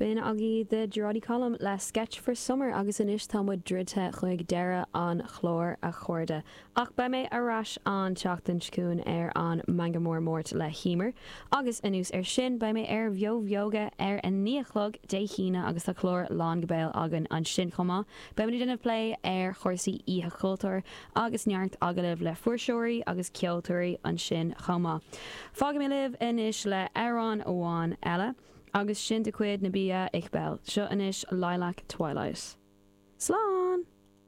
B'in agaibh The Jorody Column le Sketch for Summer agus anois tá muid druidte chuig deireadh an chláir, a chairde. Ach beidh mé ar ais an tseachtain seo chugainn ar an Meangadh Mór Máirt le hEmer. Agus anuas air sin beidh mé ar Bheo Bheoga ar a 9 a chlog Dé hAoine agus tá clár lán go béal againn ansin chomh maith. Beidh muid ag déanamh plé ar chúrsaí Oíche Chultúir agus neart agallaimh le fuirseoirí agus ceoltóirí ansin chomh maith. Fágfaidh mé libh anois le amhrán amháin eile, agus sin de chuid Nabihah Iqbal. Seo anois Lilac Twilight. Slán!